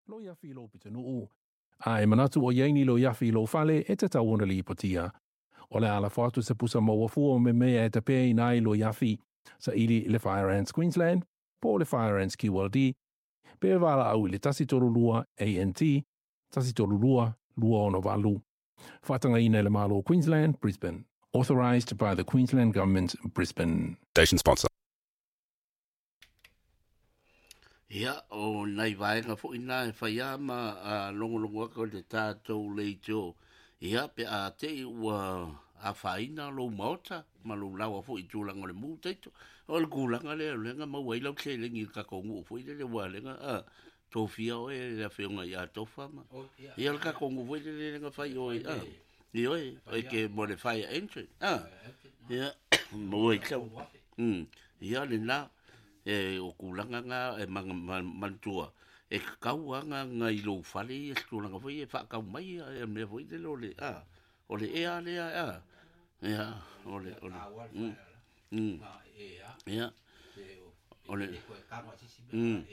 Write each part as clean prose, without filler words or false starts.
Loiafi i lou pitonuu, a e manatu o i ai ni loiafi i lou fale, e tatau ona lipotia. O le a lafo atu se pusa maua fua o memea e tapeaina ai loiafi, saili i le Fire Ants Queensland po o le Fire Ants QLD, pe valaau i le 132 ANT 132 268. Faatagaina e le Malo o Queensland, Brisbane. Authorised by the Queensland Government, Brisbane. Station sponsor. Ia, o nai vaega foi na e fai a ma a logologo atu i le tatou leitio, ia, pe a te i ua afaina lou maota ma lou laoa foi i tulaga o le mu taito. O le tulaga lea o lea na maua ai lau seleni i le tatou nuu foi lele aua o lea na a, tofia oe e le afioga ia Tofa ma, ia le tatou nuu foi lele lea na fai oe, a, ioe, e ke mo le fire engine, a, ia, maua ai sau, ia lena. E o tulaga na e manatua, e tatau lava ona na i lou fale ia se tulaga foi ia e faatau mai ia mea foi lele o le a, o le ea lea a, ia, o le, o le, mm, mm, ia, o le, mm,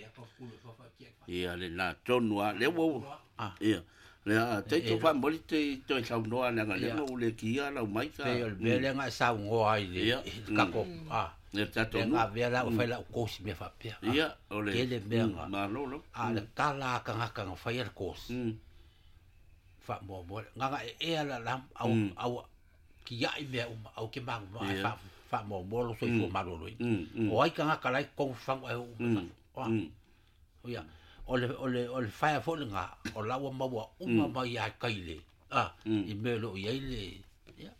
ia lena tonu lava, lea ua, ia, lea, taito faamoli te toe saunoa leaga lea na ou le kia lau mai ka. Pei o le mea lea na e saunoa ai i le tatou, a, le tatou nuu. Lea na avea la ua fai lau course i mea faapea. Ia, o le. Tele mea na. Malo lava. A o le tala a tagata na faia le course, faamuamua, na ona e ea la la, au, au tiai mea uma, au ke manumanu, ae faamuamua lou soifua maloloina. O ai tagata la e i totonu fagu ae o uma i fafo. Ia, o le, o le, o le fire foi lena, o la ua maua uma mai ia tai le, a, i mea o lo o i ai le, ia.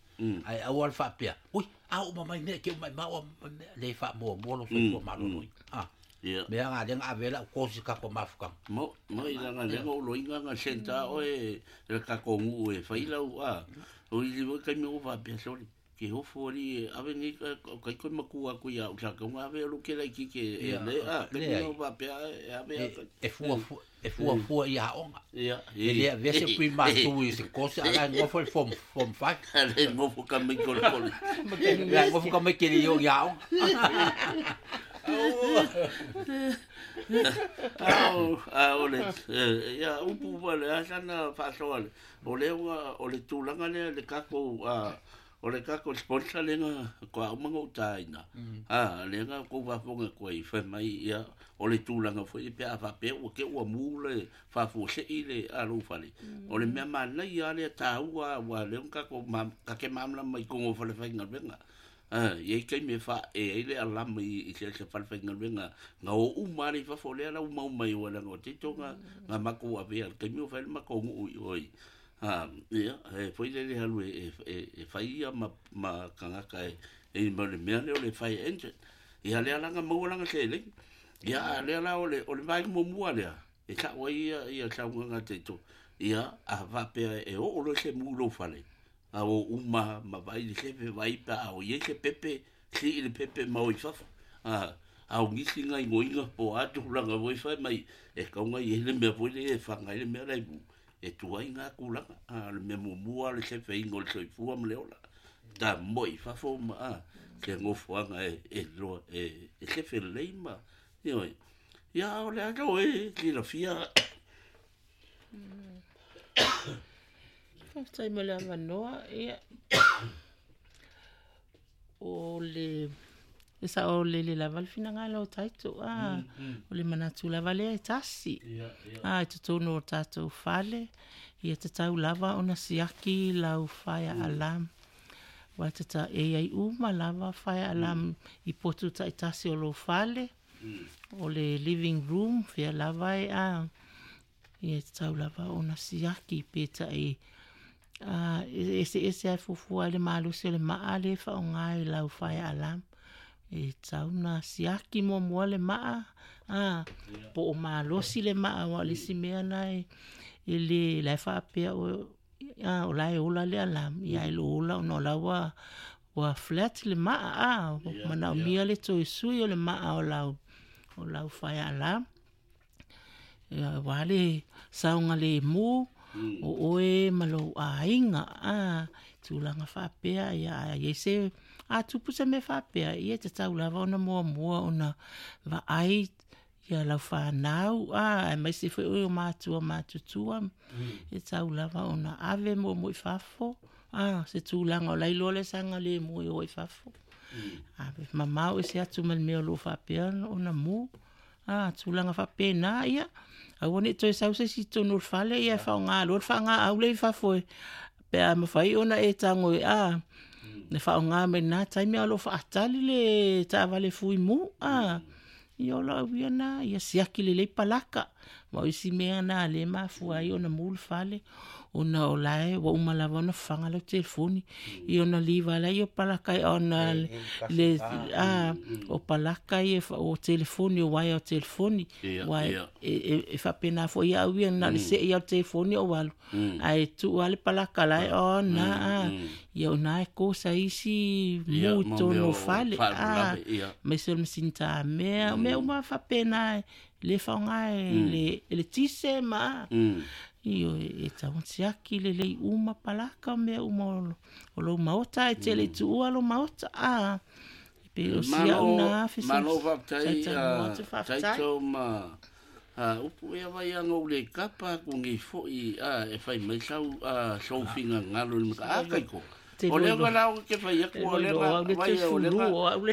Ae aua le faapea, ui, a uma mai mea, ke uma mai maua mea, le faamuamua lou soifua maloloina. A, Ia. mea na lea na ave ai lau course i tatou mafutaga. Mo, mo i langa lea na ou loiga na senta oe e le tatou nuu e fai lau, a, o i le taimi ua faapea, sole, Ke ofo alii e ave nei kai koe matua atu ia au sa kaunga ave o lo ke laitiiti e le a kai no faapea e ave a e fua fua e fua fua i aoga. Ia e le avea se prima tu i se kosi ala e nofo i form form 5. Ale nofo ka mai kole kole. La nofo ka mai kele i aoga. Ao ao le ia upu pa le asana faasoa le o le o le tulaga lea le tatou a O le tatou sponsor lea na toa uma ona ou taina, a, lea na outou faafofoga atu ai, fai mai, ia, o le tulaga foi lea pe a faapea ua te i ua mu le faafuasei le a lou fale, o le mea manaia lava lea taua aua o lea na tatou ma, ta te malamalama i totonu o falefaigaluega. A, e i ai taimi e faaee ai le alama i se falefaigaluega na o uma lava i fafo, lea la ua mau mai aua leaga o te isi na matou avea i le taimi o fai le matou nuu i o i A, ia, e foi lele alu e, e, e fai ia ma, ma tagata e, e ma le mea lea o le fire engine. Ia lea la na maua lana seleni. Ia a lea la o le, o le vaega muamua lea, e sa'o ai ia, ia saunoaga a Taito. Ia, a faapea e oo loa se mu i lou fale, a o uma ma vaai i le sefe, vaai pe a o i ai se pepe, sii le pepe ma o i fafo. A, a o nisi gaoioiga po o a tulaga foi fai mai, e tatau ona i ai le mea foi lea e faga ai le mea la e mu. E tuai ngā tulaga, a o le mea muamua o le sefeina o le soifua ma le ola. Ta moe i fafo ma a, se nofoaga e, e loa, e, e sefe lelei ma, ioe. Ia, o le a tau e silafia. Faafetai mo le avanoa. Ia, o le e saolele lava le finagalo o Taito, a, o le manatu lava lea e tasi. A, i totonu o tatou fale, ia tatau lava ona siaki lau fire alarm. Aua e e i ai uma lava fire alarm i potu taitasi o lou fale, o le living room, fea lava e a, Ia e tatau lava ona siaki pe tai a e eseese lava e fuafua ai le malosi o le maa lea e faaaoga i lau fire alarm. E tatau ona siaki muamua le maa a po o malosi le maa aua o le isi mea lena e le la e faapea oe a o la e ola le alarm ia ae le o ola ona o la ua ua flat le maa a manaomia le toe sui o le maa o lau fire alarm. Ia aua le saogalemu o oe ma lou aiga, a, tulaga faapea, ia a i ai se, a tupu se mea faapea, ia e tatau lava ona muamua ona vaai Ia lau fanau, a, aemaise foi o matua matutua, e tau lava ona ave muamua i fafo, a, se tulaga o la iloa le sagalemu e o i fafo. Ave mamao ese atu ma le mea o lo o faapea ona mu. A, tulaga faapena, ia, aua ne i toe sau se isi i totonu o le fale, ia e faaaoga loa le faagaau lea i fafo e, pe a mafai ona e tago e, a, e faaaoga mai lena taimi a o lo o faatali le taavale fuimu, a. Ia o lau ia na, ia siaki lelei palaka. Ma o isi mea na lea e mafua ai ona mu le fale, ona o la e ua uma lava ona fafaga lau telefoni. Ia ona liva lea o palaka ia ona le, a, o palaka ia o telefoni, o uaea o telefoni. Ia, ia. E faapena foi au ia, na o le sei lava o le telefoni ou alu. Ae tuu lava le palaka la e on a, ia o ina e kosa ai isi mu i totonu o fale, a, aemaise o le masini tamea, o mea uma lava faapena e le faaaoga e le eletise ma, ioe, e tatau ona siaki lelei uma palaka o mea uma o lou maota, ae te le i tuua lou maota, a, e pei o si au na Malo faafetai, Taito ma upu ea vai anga ou le kapa aku nei foi e fai mai sau sou finagalo i le mata. A kaiko. O lea nga la o ke fai aku o lea nga vai o lea nga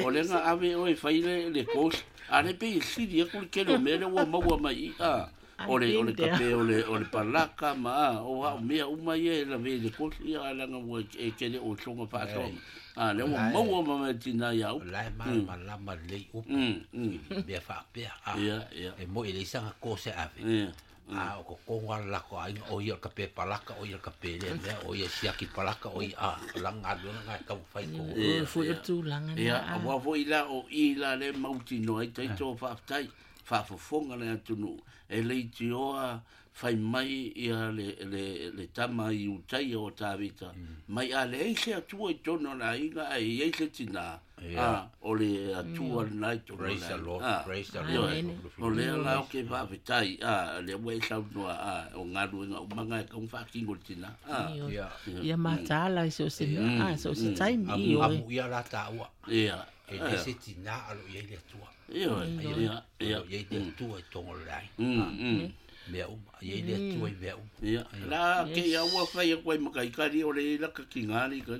o lea nga ave oe fai le le course. A le pei e sili aku le tele o mea lea ua maua mai i a o le o le kape o le o le palaka ma a o au mea uma ia e lave i le course ia a leaga ua e kele o soga faasoa a lea ua maua ma mea tina ia upu. La e malamalama lelei upu i mea faapea. A, e moi e leai sana course e ave. A o totonu lava o le latou aiga, o ia o le kape palaka, o ia o le kape lea mea, o ia e siaki palaka, o ia, a, o lana galuega lena e taumafai i totonu. Ia foi o le tulaga lena. Ia, aua foi la o i la lea e mautinoa ai taito faafetai, faafofoga le atunuu, e leitioa fai mai ia le, le, le tama Iutaia o Tavita, mai a leai se Atua i totonu o le aiga, ae i ai se tinā, a, o le Atua lena i totonu o le Praise the aiga. Lord, A, praise the Lord. ioe, o lea la ou te faafetai, a, lea ua e saunoa, a, o galuega uma na e tatau ona faatino e le tinā. A, Ioe. Ia mataala i so o se mea, a, so o se taimi, ioe. Amuia la taua. Ia. E le se tinā a lo o i ai le Atua. Ioe, ia, ia. O lo o i ai le Atua i totonu o le aiga. Mea uma, e i ai le Atua i mea uma. Ia, la ke ia ua fai atu ai ma kaikali o le i laka ki ngā li kai.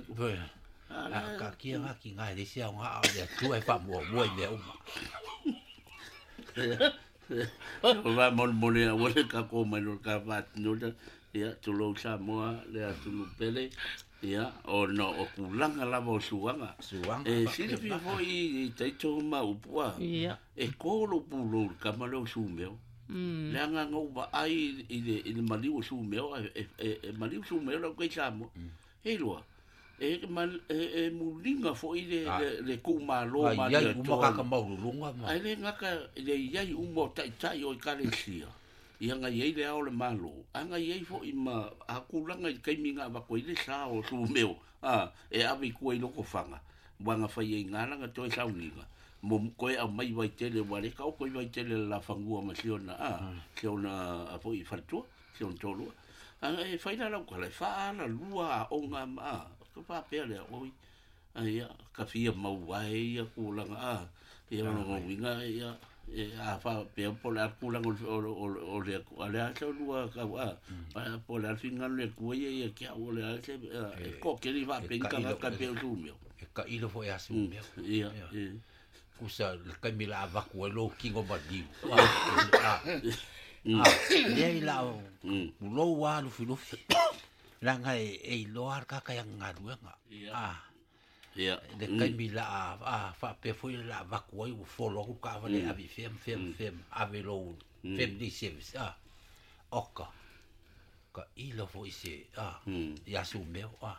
A ka kia ngā ki ngā e le se ao ngā o le Atua e whaamuamua i mea uma. O va mole mole a ua le ka ko mai lo ka whātino ia, tulou Samoa, le atunu pele, ia, o no, o kulanga lava o suanga. Suanga. E silafia foi i taito ma upua. Ia. E kolo pulou le kama leo sumeo. Leaga na ou vaai i le, i le maliu o Sumeo, e, e, e maliu Sumeo lau kai Samoa. E iloa, e, e, e muliga foi le, le, le tuumalo ma le Ai uma kaka maululuga ma. Ai le gata le iai uma o taitai o ekalesia. Ia na iai le ao o le Malo, a na iai foi ma a tulaga i le taimi na avatu ai le sa o Sumeo, a, e ave i tua i Lotofaga, ua na fai ai i ina toe sauniga, mo toe aumai Vaitele, ua le taoto i Vaitele le lafanua ma si ona, a, si ona a foi faletua, si ona toalua. A e fai la lau tala, e faaalalua aoga ma, a, ka faapea lea, oi, a ia, ka fia maua ai ia tulaga, a, ia o lona uiga, ia, e a faapea po o le a le tulaga o le, o le, o le, o le a se lua kau, a, po o le a le finagalo o le Atua ia ia te au, o le a se, e toatele faapea ni tagata e pei o Sumeo. E tailo foi ia Sumeo. Ia, ia. Kusa le taimi la avatu ai lou tino maliu. A, leai la o lou a lufilufi. Leaga e iloa le tagata i ana galuega. A, Ia. Le taimi la a faapea foi la avatu ai ua folo atu le taavale e ave i fea ma fea ma fea ma ave i lou family service. A, oka, tailo foi se, a, ia Sumeo. A,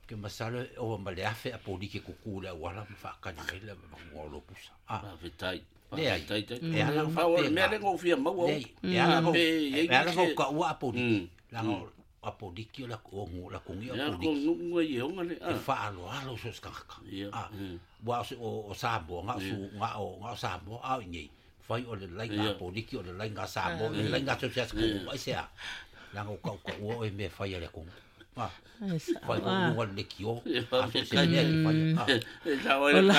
ke masalo e ova ma le 1000 a poliki e kuku i le auala ma faatali mai le avatuga o lou pusa. A. Faafetai. Leai. Faafetai tai. E ala ona Pau o le faapena. mea lea na ou fia maua Leai, e ala ona Pe i ai e ala ona nisi ou taua a poliki. Leaga o a poliki o le o le atunuu a Ia, poliki. ko nu'u ai e oga le, E faaaloalo so o se tagata. Ia, A, aua o se o Samoa, na o su, na o, na o Samoa a o i inei. Fai o le laina a poliki, o le laina a Samoa, o le laina a so o se atunuu, aisea? Leaga ua tautaua oe i mea e fai a le atunuu. E sa'o Fai a. luga le lekiō. Ia, A so se mea e te faia. Ah. E sao ai le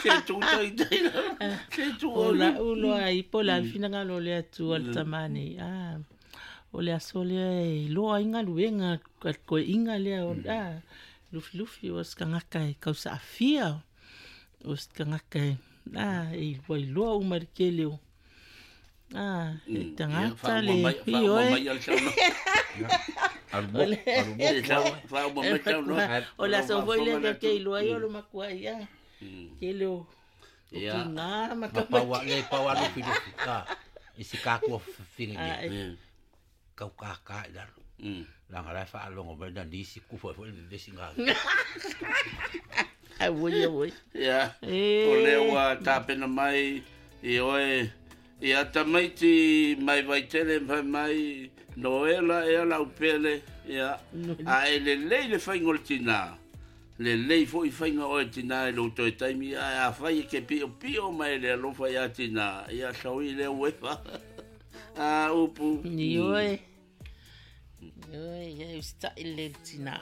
se tu tai tai se tu O o la'u loa ai po o le a le finagalo o le Atua le tamā nei a o le aso lea e iloa ai galuega a le koeʻiga lea o a lufilufi o se tagata e kausaʻafia o se tagata e a e ua iloa uma i le tele o a e tagata le ioe mai al sauno. Alu moku, alu moku. E sao faauma mai sauno. O le aso foi lea tatou te iloa ai o le makuai a tele o Ia. tinā ma Ma tamaiti pau a le pau a lufilufi. Ah. I se kākua whiringi a nei. e Kau kākā i lalo. Langa lai whaalongo mai na nisi kufa foi le vesi ngā. auoi auoi Ia. e O lea ua tapena mai i oe ia tamaiti mai Vaitele ma fai mai Noela ea laupele ia a e lelei le faiga o le tinā lelei foʻi faiga oe tinā i lou toe taimi ae afai e ke piʻopiʻo mai le alofa iā tinā ia saui lea uefa a upu Ioe. Ioe, ia e usitaʻi lelei le tinā.